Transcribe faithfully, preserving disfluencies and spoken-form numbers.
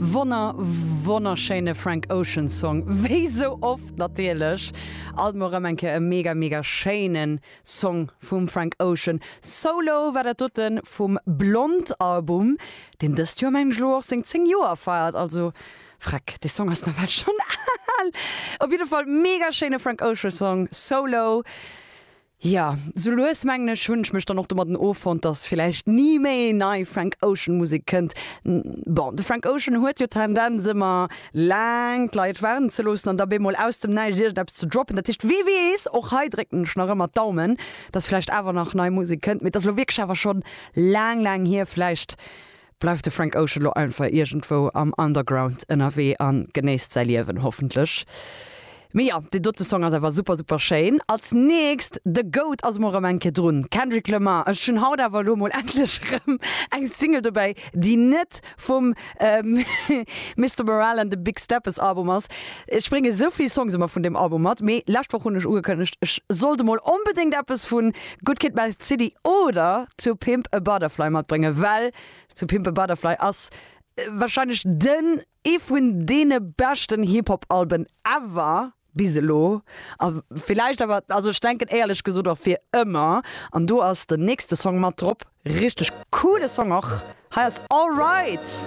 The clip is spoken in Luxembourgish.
Wonner wonnerschéine Frank Ocean Song wéi sou oft natierlech alt mol rëm eng Kéier e mega mega schéinen Song vum Frank Ocean. Solo war dat doten vum Blonde Album, deen dëst Joer mengen ech elo och seng zéng Joer feiert, also freck dee Song ass nawell schonn al. Op jidde Fall mega schéine Frank Ocean Song Solo. Jo, sou lues mengen ech hunn ech mech dann och domadden offonnt, dass villäicht ni méi nei Frank Ocean Musek kënnt. Bon, de Frank Ocean huet jo d'Tendenz ëmmer laang d'Leit waarden ze loossen an da bemol aus dem Näischt iergendeppes ze droppen. Dat heescht, wee weess, och hei drécken ech nach ëmmer d'Daumen, dass villäicht awer nach nei Musek kënnt. Mee et ass elo wierklech awer schonn laang, laang hier. Vläicht bleift de Frank Ocean lo einfach iergendwou am Underground ënnerwee a genéisst säi Liewen, hoffentlech. Mee jo, deen dote Song ass awer super super schéin. Als nächst, de Goat ass mol rëm eng Kéier drun, Kendrick Lamar. Ech hunn haut awer elo mol endlech rëm eng Single dobäi, déi net vum Mister Morale and the Big Steppers Album ass. Ech brénge sou vill Songs ëmmer vun deem Album mat, mee lescht Woch hunn ech ugekënnegt, ech sollt emol onbedéngt eppes vu Good Kid, Mad City oder To Pimp a Butterfly matbréngen, well To Pimp a Butterfly ass warscheinlech den ee vun deene beschten Hip-Hop-Alben ever bis elo a villäicht awer, also ech denken éierlech gesot och fir ëmmer. An do ass den nächste Song mat drop, richteg coole Song och. Hei ass Alright.